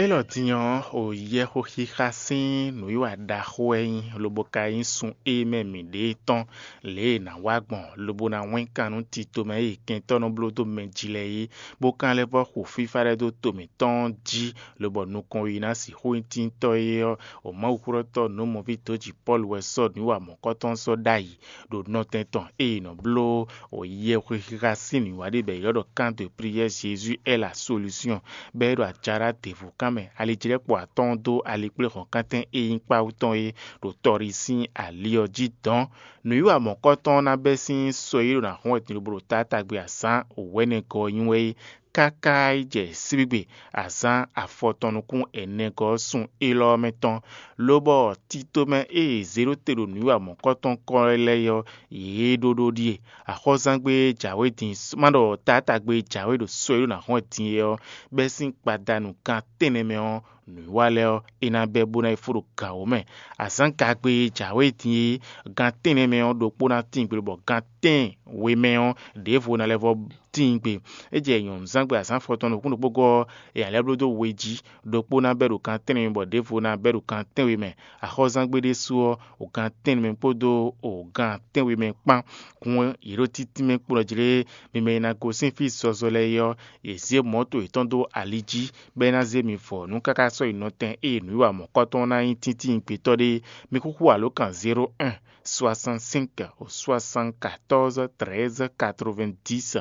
Élɔ́ din ɔ́, o yɛxoxíxa sín nǔwiwa ɖaxó wɛ nyí, lobo ka nyí sun e mɛ mǐ ɖe tɔn lě e è nǎ wa gbɔn, lobo ná wɛ́n kan nú tito mɛ e kɛntɔ́ nɔ bló dó mɛ jí lɛ́ɛ é, bó ka lɛ́ vɔ́ xo fífá lɛ́ɛ dó to mǐtɔn jí, lobɔ nukɔn e ná sixú nyí tíntɔ́ é ɔ́, o Mawuxólɔ́tɔ́ nǔmɔví dǒjǐ Pɔ́lu wɛ sɔ́ nǔwiwa mɔ̌kɔtɔn sɔ́ ɖ'ayǐ ɖo nɔtɛn tɔn e è nɔ bló o yɛhwexixa sín nǔwiwa ɖé bɔ è ylɔ́ ɖɔ Camp de prière Jésus est la solution, bɔ é ɖo acara ɖěvo kan mɛ, alijlɛ́kpo atɔ́ɔ́n dó alikpléhɔ̌nkántɛn e nyí kpáwú tɔn é ɖo tɔɖi sín ali ɔ́ jí dɔ̌n. Nǔwiwa mɔ̌kɔtɔn ɔ́ ná bɛ́ sín sɔ e ɖo ná hɔn wɛ din lobo ɖo taátagbe azǎn wɛ̌nɛgɔ́ ɔ́ nyi wɛ é, káká yi jɛ síbígbe azǎn afɔtɔn nukún ɛnɛgɔ́ ɔ́ sun élɔ́ ɔ́ mɛ tɔn, lobɔ titomɛ e è zě ɖó te ɖo nǔwiwa mɔ̌kɔtɔn kɔ́ lɛ́ɛ ɔ́, yě ɖó ɖó ɖíe. Axɔ́zángbé e jǎwe din má ɖɔ taátagbe e jǎwe ɖo sɔ e ɖo ná hɔn din é ɔ́, bɛ́ sín gbadanu gan tɛ́nnɛ mɛ ɔ́, nǔwiwa lɛ́ɛ ɔ́, é ná bɛ́ bó ná yi fó ɖo gǎn wǒ mɛ. Azǎngagbe e jǎwe din é, gan tɛ́nnɛ mɛ ɔ́, ɖokpó ná tíin gbe, bɔ gan tɛ́nwe mɛ ɔ́, ɖěvo ná lɛ́ vɔ́ tíin gbe. É jɛ nyɔ̌nuzángbe azǎn afɔtɔn nukún ɖokpó gɔ́ ɔ́, è nǎ lɛ́ bló dó we jí, ɖokpó ná bɛ́ ɖo gan tɛ́nnɛ mɛ, bɔ ɖěvo ná bɛ́ ɖo gan tɛ́nwe mɛ. Axɔ́zángbé ɖésú ɔ́, o gan tɛ́nnɛ mɛ kpódó o gan tɛ́nwe mɛ kpán. Hǔn yě ɖo títí mɛ kplɔ́ jlé mi mɛ e ná gosín fí zɔzɔ lɛ́ɛ é ɔ́, yě zé mɔ̌to yětɔn dó ali jí, bɔ é ná zé mi vɔ nú káká sɔ́ yi nɔtɛn ée nǔwiwa mɔ̌kɔtɔn ná nyí tíntín gbetɔ́ ɖé. Mi xúxú alǒkan zéro un, soixante-cinq, soixante-quatorze, treize, quatre-vingt-dix,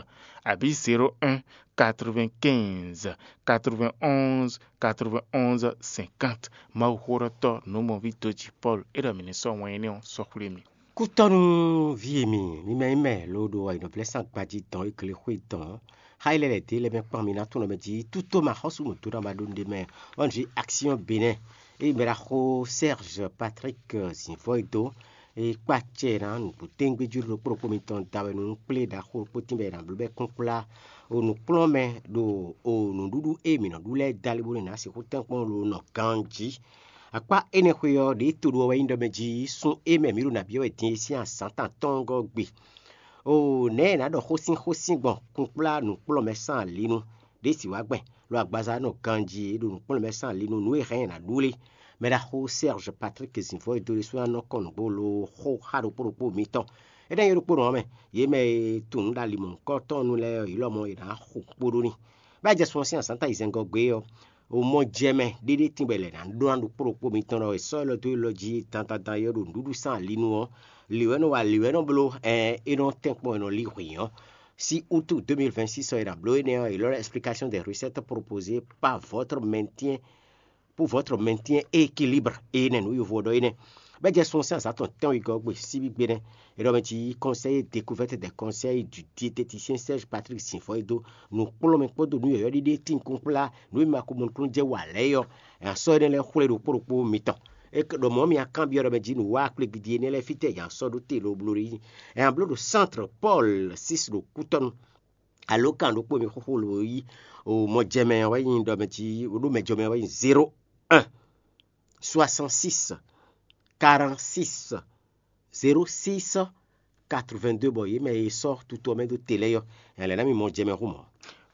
abǐ zéro un, quatre-vingt-quinze, quatre-vingt-onze, quatre-vingt-onze, cinquante. Mawuxólɔ́tɔ́ nǔmɔví dó jǐ Pɔ́lu é ɖɔ mǐ ní sɔ́ wɛn énɛ́ ɔ́ sɔ́ xwlé mì. Kútɔ́nú ví e mi, mi mɛ nyí mɛ loo ɖo ayǐnɔblɛ́sán gbají dɔn e glexwé dɔn. Xa yi lɛ́ lɛ̌ dé lɛ́ mɛ kpán mi ná tún nɔ mɛ jí tútó ma xɔ́sú nǔdó ná ma ɖó nɖe mɛ. Ɔ́ nǔ jí action Bénin. Ée mɛ ɖaxó Serge Patrick Zinvɔ́ e dó, é kpá acɛ ná nǔgbó téŋgbé jí ɖokpó ɖokpó mitɔn da wɛ nú kplé ɖaxó ɖokpó tín bɔ è nǎ bló bɔ é kún kplá o nǔkplɔ́nmɛ ɖo o nǔɖuɖu e mǐ nɔ ɖu lɛ́ɛ dali bónú è nǎ sixú tɛ́nkpɔ́n lo nɔ ganjí. Akpá énɛ́ xwe ɔ́, ɖě to ɖo ɔ́ wɛ nyí ɖɔ mɛ jí sún e mɛ mǐ ɖo nǎ byɔ́ wɛ din é sín azǎn tɔn atɔ́ɔ́ngɔ́ gbe. Oo, nɛ̌ è nǎ ɖɔ xósín xósín gbɔn kunkplá nǔkplɔ́nmɛ sín alinu, ɖě sì wá gbɛn, lo agbaza nɔ ganjí e ɖo nǔkplɔ́nmɛ sín alinu nǔ e hɛn ɛ nǎ ɖu lé? Mɛ ɖaxó Serge Patrick Zinvɔ́ e dó ɖésú ná nɔ kɔn nǔgbó lo xó xá ɖokpó ɖokpó mitɔn. É ɖɔ nyí ɖokpónɔ ɔ́ mɛ, yě mɛ e tunwun nǔ ɖo ali mɔ̌hunkɔtɔn nu lɛ́ɛ ɔ́, yě lɔmɔ̌ yě ná xo kpo ɖó n'i. Bɔ é jɛ sun ɔ́ sín azǎn ta yi zɛngɔ́ gbé ɔ́, o mɔ jɛ mɛ ɖéɖé tíngbɛ lɛ̌ ná ɖó ná ɖokpó ɖokpó mitɔn ɖɔ è sɔ́ élɔ́ dó élɔ́ jí dandandan e ɔ́ ɖo nǔɖuɖu sín ali nu ɔ́, lǐwɛ́nɔ wa lǐwɛ́nɔ bló, ɛn é nɔ tɛ́nkpɔ́n è nɔ lí hwǐn ɔ́. Sí útu deux mille vingt-six ɔ́ è nǎ bló énɛ́ ɔ́, è lɔ́ ɖɔ explication des recettes proposées par votre maintien pour votre maintien équilibre énɛ́ nǔ yovo ɔ́ ɖɔ énɛ́. Bɔ é jɛ sun ɔ́ sín azǎn tɔn tɛ́nwegɔ́ gbe síbígbe nɛ́. È ɖɔ mɛ jí conseiller découverte des conseils du diététicien Serge Patrick Sinfɔ e dó nǔkplɔ́nmɛ kpódó nǔ yɔ̌yɔ́ ɖíɖí e tín kún kplá nǔ e ma ko mɔ nukúnnú jɛ wa lɛ́ɛ é ɔ́, è nǎ sɔ́ énɛ́ lɛ́ɛ xwlé ɖokpó ɖokpó mitɔn. É ɖɔ mɔ̌ mi kanbyɔ́ ɖɔ mɛ jí nǔ wa akplégbidi énɛ́ lɛ́ɛ fítɛ́ è nǎ sɔ́ ɖó te lobló ɖé yí. È nǎ bló ɖo Centre Paul six ɖo kútɔ́nu. Alo kan ɖokpó mi xóxó lo yí o mɔ jɛ mɛ wɛ nyí ɖɔ mɛ jí ɖó mɛ jɔ mɛ wɛ nyí zéro un soixante-six quarante-six zéro six quatre-vingt-deux, bɔ yě mɛ e sɔ́ tutu ɔ́ mɛ dó te lɛ́ɛ ɔ́, nya lɛ̌ ná mi mɔ jɛ mɛ xú mɔ̌.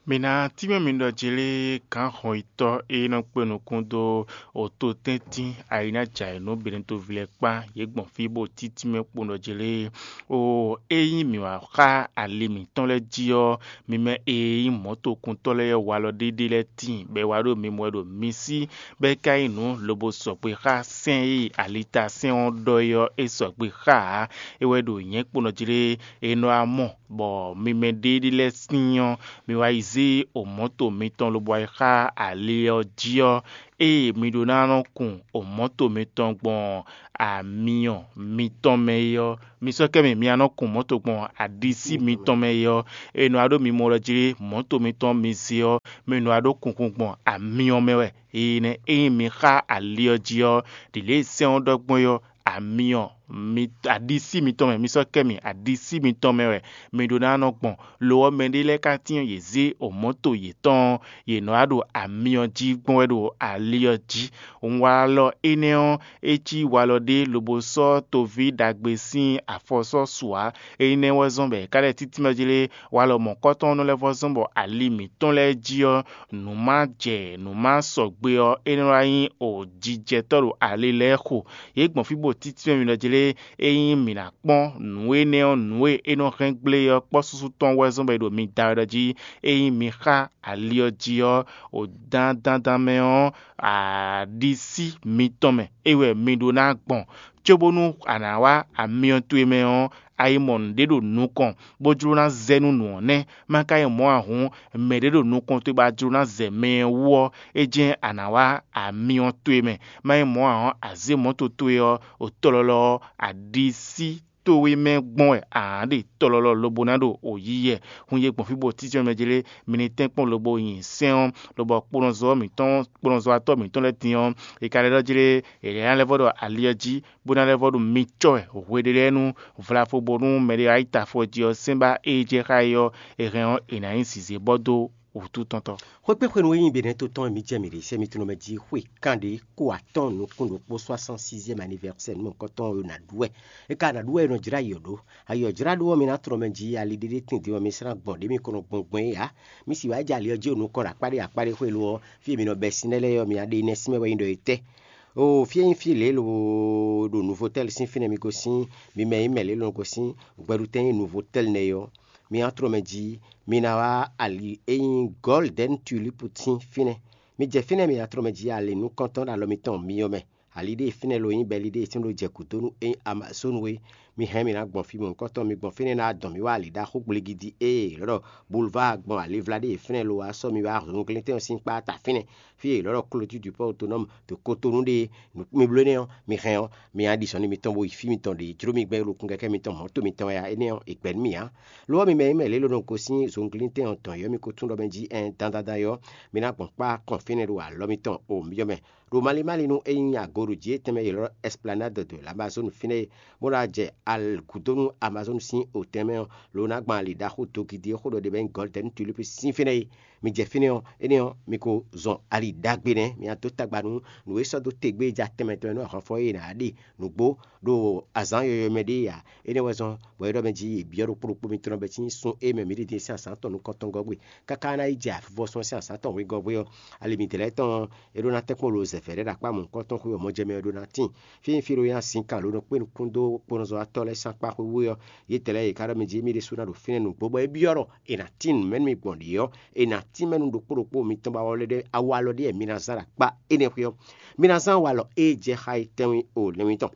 Mi ná tínmɛ mi ɖɔ jlé gǎn hɔnyitɔ́ e nɔ kpe nukún dó ototɛ́ntin ayǐnájǎ e nú Benɛtoví lɛ́ɛ kpán yě gbɔn fí bó títí mɛ kpo ɖɔ jlé. O ényí mǐ wá xá ali mǐtɔn lɛ́ɛ jí ɔ́, mi mɛ e nyí mɔ̌tokuntɔ́ lɛ́ɛ ɔ́ walɔ ɖéɖé lɛ́ɛ tíin, bɔ é wá ɖo mi mɔ wɛ ɖo mi sí, bɔ é ka nyí nǔ lobo sɔgbe xá sɛ́n e alita sɛ́n ɔ́ ɖɔ é ɔ́, é sɔgbe xá ǎ. É wɛ ɖo nyɛ̌ kpo nɔ jlé e nɔ wá mɔ, bɔ mi mɛ ɖéɖé lɛ́ɛ sín ɔ́, mi wá yi zé omɔ̌to mitɔn lobo wá yi xá ali ɔ́ jí ɔ́, ée mi ɖó ná nɔ kun omɔ̌to mitɔn gbɔn amyɔ mitɔn mɛ é ɔ́, mi sɔ́ kɛ mì mi ná nɔ kun mɔ̌to gbɔn aɖisí mitɔn mɛ é ɔ́, e nɔ wá ɖó mi mɔ ɖɔ jlé mɔ̌to mitɔn mi zé ɔ́, mi nɔ wá ɖó kunkun gbɔn amyɔ mɛ wɛ. Énɛ́ ényí mi xá ali ɔ́ jí ɔ́, ɖi lě e sɛ́n ɔ́ ɖɔ gbɔn é ɔ́, amyɔ mi aɖisí mitɔn mɛ, mi sɔ́ kɛ mi aɖisí mitɔn mɛ wɛ mi ɖó ná nɔ gbɔn. Lo ɔ́, mɛɖé lɛ́ɛ ka tín yě zé omɔ̌to yětɔn ɔ́, yě nɔ wá ɖo amyɔ jí gbɔn wɛ ɖo ali ɔ́ jí. Walɔ énɛ́ ɔ́, é cí walɔ ɖé lobo sɔ́ toví ɖagbe sín afɔ sɔ́ su ǎ. Énɛ́ wɛ zɔ́n bɔ è ka lɛ́ títí mɛ jlé walɔ mɔ̌kɔtɔn ɔ́ nɔ lɛ́ vɔ́ zɔ́n bɔ ali mǐtɔn lɛ́ɛ jí ɔ́, nǔ ma jɛ nǔ ma sɔgbe ɔ́, é nɔ wá nyí o jijɛtɔ́ ɖo ali lɛ́ɛ xo. Yě gbɔn fí bó títí mɛ mi nɔ jlé, ényí mǐ ná kpɔ́n nǔ énɛ́ ɔ́, nǔ e é nɔ hɛn gblé ɔ́ kpɔ́ súsú tɔn wɛ zɔ́n bɔ è ɖo mi da wɛ ɖɔ jí. Ényí mi xá ali ɔ́ jí ɔ́, o dandandan mɛ ɔ́, aɖisí mitɔn mɛ é wɛ mi ɖó ná gbɔn, cóbónú a nǎ wá amyɔ towe mɛ ɔ́, a yi mɔ nǔɖé ɖo nukɔn, bó jló ná zɛ nú nǔ ɔ́ nɛ́. Má ka yi mɔ̌ ǎ hǔn, mɛɖé ɖo nukɔn towe bɔ a jló ná zɛ mɛ ɔ́ wú ɔ́, é jɛ́n a nǎ wá amyɔ towe mɛ. Má yi mɔ̌ ǎ ɔ́, a zě mɔ̌to towe ɔ́, o tɔlɔlɔ ɔ́, a ɖi sí towe mɛ gbɔn wɛ a nǎ ɖe tɔlɔlɔ lobo ná ɖo o yiyɛ. Hun yě gbɔn fí bó títí mɛ jlé, mi ní tɛ́nkpɔ́n lobo nyi sɛ́n ɔ́, lobɔ kponɔzɔ́ mǐtɔn kponɔzɔ́watɔ́ mǐtɔn lɛ́ɛ din ɔ́, è ka lɛ́ ɖɔ jlé, è lɛ́ ná lɛ́ vɔ ɖo ali ɔ́ jí, bó ná lɛ́ vɔ ɖo mi cɔ́ wɛ hweɖélɛ́nu vlafo bónú mɛɖé wá yi ta afɔ jí ɔ́, sɛ́n ba ée jɛ xá é ɔ́, è hɛn ɔ́, è nǎ nyí zǐzé bɔ dó wǔtu tɔn tɔn. Xwékpé xwenu e nyí Benɛto tɔn e mi jɛ mǐ ɖe sɛ mitɔn mɛ jí xwe kanɖé ko atɔ́ɔ́n nukún ɖokpó soixante-sixième anniversaire nú mɔ̌hunkɔtɔn e ná ɖu wɛ. É ka ná ɖu wɛ è nɔ jlá yɔ ɖó. Ayɔ jlá ɖó ɔ́, mi ná tlɔ́ mɛ jí ali ɖéɖé tɛ́ntin ɔ́, mi slán gbɔn ɖě mi ko nɔ gbɔn gbɔn é ǎ. Mi sì wá jɛ ali ɔ́ jí o nukɔn ɖo akpá ɖé akpá ɖé xwé lo ɔ́, fí e mi nɔ bɛ́ sin lɛ́ɛ lɛ́ɛ ɔ́, mi ná ɖe nɛ́ sín mɛ wɛ nyí ɖɔ é tɛ́. Oo, fí e nyí fí lě e lo ɖo Nuvotɛ́li sín fínɛ́ mi gosín, mi mɛ e nyí mɛ lě e lo gosín gbɛɖutɛn e nyí Nuvotɛ́li nɛ́ é ɔ́, mi ná tlɔ́ mɛ jí, mi ná wá ali e nyí Gɔ́lidɛ́ni Tulipu sín fínɛ́. Mi jɛ fínɛ́, mi ná tlɔ́ mɛ jí ali nukɔntɔn ɖo alɔ mitɔn myɔ mɛ. Ali ɖé e fínɛ́ lo nyí bɔ ali ɖé e sín ɖó jɛ gǔdo nú é nyí Amazonu é. Mi hɛn mi ná gbɔn fí mɔ̌hunkɔtɔn, mi gbɔn fínɛ́ ná dɔn mi wá ali ɖaxó gbligidi e è lɔ́ ɖɔ Boulevard gbɔn alivla ɖé e fínɛ́ lo wá sɔ́ mi wá zunglíntɛn ɔ́ sín kpá ta fínɛ́. Fí e è lɔ́ ɖɔ Clôture du Port Autonome to Cotonou ɖe, mi bló énɛ́ ɔ́, mi hɛn ɔ́, mi ná ɖi zɔ̌n nú mitɔn bó yi fí mitɔn ɖě jló mi gbɛn ɖo kún kɛkɛ́ mitɔn mɔ̌to mitɔn wɛ ǎ. Énɛ́ ɔ́, è gbɛ̌ nú mì ǎ. Lo ɔ́, mi mɛ e nyí mɛ lě e lo nɔ gosín zunglíntɛn ɔ́ tɔn yɔ́ mi ko tún ɖɔ mɛ jí ɛn dandandan é ɔ́, mi ná gbɔn kpá kɔn fínɛ́ ɖo alɔ mitɔn o myɔ mɛ. Ɖo malín málín nú é nyí agoɖují e tɛnmɛ è lɔ́ ɖɔ Esplanade de l'Amazone fínɛ́ é, bó ná jɛ gǔdo nú Amazone sín otɛn mɛ ɔ́, lo ná gbɔn ali ɖaxó dogidi e xó ɖɔ ɖe bɔ é nyí Gɔ́lidɛ́ni Tulipu sín fínɛ́ é. Mi jɛ fínɛ́ ɔ́, énɛ́ ɔ́, mi ko zɔn ali ɖagbe nɛ́, mi ná dó tagba nú nǔ e sɔ́ dó te gbé ja tɛnmɛ tɔn e nú ahwanfɔ e è nǎ ɖe nǔgbó ɖo azǎn yɔywɛ mɛ ɖé ǎ. Énɛ́ wɛ zɔ́n bɔ é ɖɔ mɛ jí è byɔ́ ɖokpó ɖokpó mitɔn bɔ é cí nyi sun e mɛ mǐ ɖi din sín azǎn tɔn nukɔntɔngɔ́ gbe, káká ná yi jɛ avivɔsun sín azǎn tɔn wegɔ́ gbe ɔ́, ali mǐdɛɛ lɛ́ɛ tɔn ɔ́, é ɖó ná tɛ́nkpɔ́n lo zɛ̌vɛ́ ɖé ɖo akpá mɔ̌hunkɔtɔn xwé ɔ́ mɔ jɛ mɛ ɔ́ ɖó ná tíin. Fí e nyí fí e ɖó nyi azinkán lǒ nɔ kpé nukún dó kponɔzɔ́ tɔ́ lɛ́ɛ sín akpá xwé wú é ɔ́, yětɛn lɛ́ɛ yě ká ɖɔ mɛ jí émí ɖésú ná ɖo fínɛ́ nǔgbó bɔ é byɔ́ ɖɔ è nǎ tín nǔ mɛ nú mì gbɔn ɖě ɔ́, è nǎ tín mɛ nú ɖokpó ɖokpó mitɔn ba wá lɛ́ ɖé awu alɔ ɖé mi ná zán ɖo akpá énɛ́ xwé ɔ́. Mi ná zán awu alɔ e jɛ xá yi tɛ́nwí o lɛ́nwí tɔn.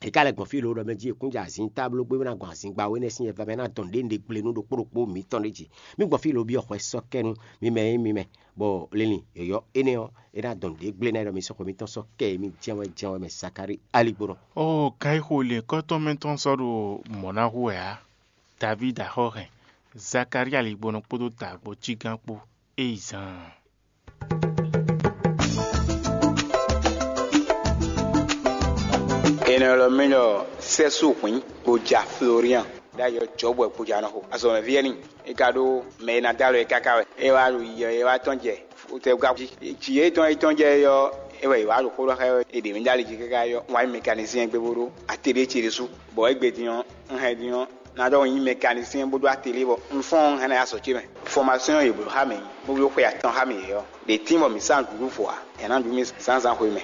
È ka lɛ́ gbɔn fí lǒ ɖɔ mɛ jí è kún jɛ azǐn tábló gbé bó ná gbɔn azǐngba wé nɛ́ sín yɛvá mɛ ná dɔn ɖě un ɖe gble nú ɖokpó ɖokpó mitɔn ɖé jí. Mi gbɔn fí lǒ byɔ́ xwɛ sɔ́ kɛ nú mi mɛ e nyí mi mɛ, bɔ linlin yɔ̌yɔ́ énɛ́ ɔ́, é ná dɔn ɖě gble ná ɖɔ mi sɔ́ xwe mitɔn sɔ́ kɛ e mi jɛ́n wɛ jɛ́n wɛ mɛ Zakalíi aligbónɔ. Oo, ká yi xo lě kɔ́tɔn mɛ tɔn sɔ́ ɖo mɔ̌ ná hu wɛ ǎ. Davídi axɔ́ hɛn Zakalíi aligbónɔ kpódó dǎgbó cígán kpó é yi zaan. Énɛ́ lɔ mɛ ɖɔ sɛ́sú hwǐn kpo ja Florian ɖ'ayǐ ɔ́ jɔ̌bɔ kpo ja nɔ xo azɔ̌mɛví ɛ́ n'i. É ka ɖó mɛ e ná dó alɔ é káká wɛ. É wá ɖo yiyɔ é wá tɔ́n jɛ fotɛ́wúká jí. Jǐ e tɔn é tɔ́n jɛ é ɔ́, é wɛ è wǎ ɖo xó ɖɔ xá ɛ é ɖě mɛ dó ali jí káká é ɔ́, wǎ nyí mɛkanisíɛn gbé bó ɖó atelié ce ɖésú, bɔ égbé din ɔ́, un hɛn din ɔ́, ná ɖɔ un nyí mɛkanisíɛn bó ɖó atelié bɔ un fɔ́n un hɛn ná yi azɔ̌ ce mɛ. Fɔmasɔ́n e yě bló xá mì bó bló xwe atɔn xá mì é ɔ́, ɖě tín bɔ mǐ sá nǔɖuɖu fɔ ǎ. Yě ná ɖu mì zǎnzǎn xwe mɛ.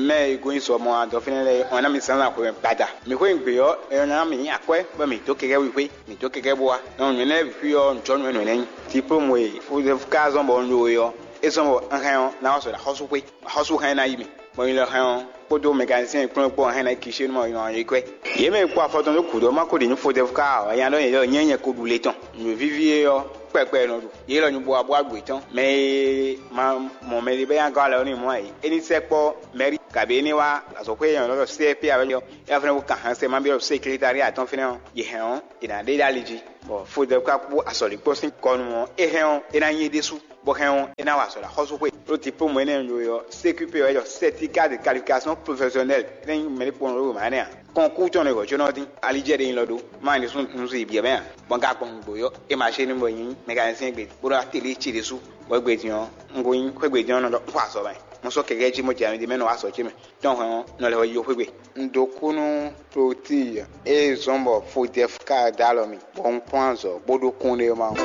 Mɛ e gosín sɔ mɔ adɔ fínɛ́ lɛ́ɛ ɔ́ ná mì zǎnzǎn xwe mɛ gbada. Mǐ xwé nyi gbě ɔ́, é ná mì nyí akwɛ́ bɔ mǐ dó kɛkɛ́ wíxwé, mǐ dó kɛkɛ́ bó wá. Nɔ nǔ énɛ́ lɛ́ɛ bǐ xwí ɔ́, nǔjɔnǔ wɛ nǔ énɛ́ nyí. Diplôme e Joseph ka zɔ́n bɔ un ɖó é ɔ́, é zɔ́n bɔ un hɛn ɔ́ ná wá sɔ ɖo axɔ́súxwé. Axɔ́sú hɛn ná yi mì, bɔ nyi lɔ hɛn ɔ́ kpódó mɛkanisíɛn kplɔ́n kpó hɛn ná yi kishénu mɔ yɔn yi kwɛ́. Yě mɛ e kpo afɔ tɔn dó gǔdo ɔ́ ma ko ɖi nǔ fodɛ́vu ká ǎ, ɔ́, nya ɖɔ nyɛ ɖɔ nyɛ nyɛ ko ɖu le tɔn. Nǔ víví é ɔ́, kpɛkpɛ nɔ ɖu. Yě lɔ nyi bo wá bó agbǒ tɔn. Mɛ e ma mɔ mɛɖé bɛ́ nyi agɔ́ alɛ ɔ́ n'i mɔ ǎ é. É ní sɛkpɔ́ mɛ̌ri, kabǐ é ní wá azɔ̌xwé e nyɔ̌nu ɖɔ C P ǎ wɛ ɔ́, é wá fɛ́nɛ bó kan hɛn sɛ ma byɔ́ ɖo sékilitári atɔn fínɛ́ ɔ́, yě hɛn ɔ́, è nǎ ɖe ɖ'ali jí. Bɔ fodɛ́vu ka kpó azɔ̌líkpɔ́ sín kɔ nu ɔ́, é hɛn ɔ́, é ná nyí é ɖésú, bɔ hɛn ɔ́, é ná wa azɔ̌ ɖo axɔ́súxwé. Ɖó diplôme énɛ́ e un ɖó é ɔ́, C Q P wɛ é ɖɔ certificat de qualification professionnelle, é nyí mɛɖé kpɔ́n ɖó mǎ nɛ́ ǎ. Kɔn kú tɔn ɖo hwɛ̌ jónɔ dín, ali jɛ ɖe nyi lɔ ɖó, má nyí ɖésú un zun yi byɔ̌ mɛ ǎ. Bɔ un ka gbɔn nǔgbó yɔ́, é ma ṣe nú bɔ nyí mɛkanisɛn gbe, bó ɖó atelier ce ɖésú. Bɔ égbé din ɔ́, un ko nyí xwé gbe din ɔ́ nɔ ɖɔ un xɔ azɔ̌ mɛ. Mo sɔ́ kɛkɛ́ jí mo jɛ ami ɖé mɛ nɔ wá azɔ̌ ce mɛ. Tɔn hwɛ̌n ɔ́, nɔ lɛ́ wɛ yi xwé gbe. Un ɖo kú nú Klotí e zɔ́n bɔ Fodɛfu ka dó alɔ mì, bɔ un kpɔ́n azɔ̌ bó ɖó kúnɖéma ɔ́.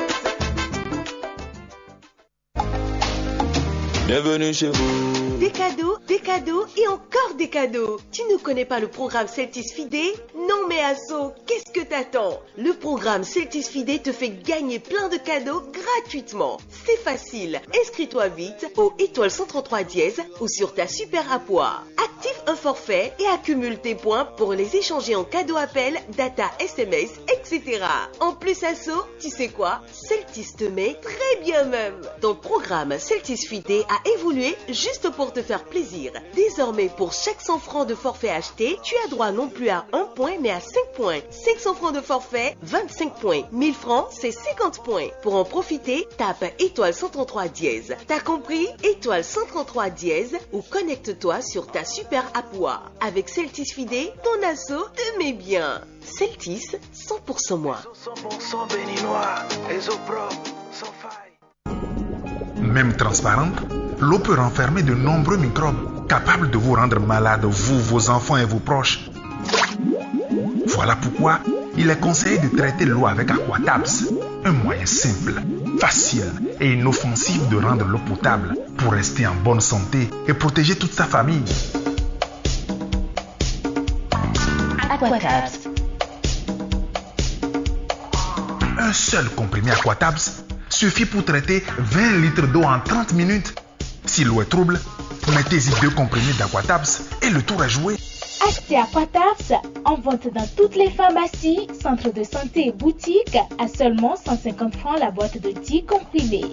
Bienvenue chez vous. Des cadeaux, des cadeaux et encore des cadeaux. Tu ne connais pas le programme Celtis Fidé ? Non mais Asso, qu'est-ce que t'attends ? Le programme Celtis Fidé te fait gagner plein de cadeaux gratuitement. C'est facile. Inscris-toi vite au étoile cent trente-trois dièse ou sur ta super appoir. Active un forfait et accumule tes points pour les échanger en cadeau appel, data, S M S, et cetera. En plus, Asso, tu sais quoi ? Celtis te met très bien même. Ton programme Celtis Fidé a évolué juste pour te faire plaisir. Désormais, pour chaque cent francs de forfait acheté, tu as droit non plus à un point, mais à cinq points. Cinq cents francs de forfait, vingt-cinq points. Mille francs, c'est cinquante points. Pour en profiter, tape étoile cent trente-trois dièse. T'as compris ? Étoile cent trente-trois dièse ou connecte-toi sur ta super appoir. Avec Celtis Fidé, ton Asso te met bien. Celtis, cent pour cent moi. Réseau cent pour cent béninois, réseau propre, sans faille. Même transparente, l'eau peut renfermer de nombreux microbes capables de vous rendre malade, vous, vos enfants et vos proches. Voilà pourquoi il est conseillé de traiter l'eau avec Aquatabs, un moyen simple, facile et inoffensif de rendre l'eau potable pour rester en bonne santé et protéger toute sa famille. Aquatabs. Un seul comprimé Aquatabs suffit pour traiter vingt litres d'eau en trente minutes. Si l'eau est trouble, mettez-y deux comprimés d'Aquatabs et le tour est joué. Achetez Aquatabs en vente dans toutes les pharmacies, centres de santé et boutiques à seulement cent cinquante francs la boîte de dix comprimés.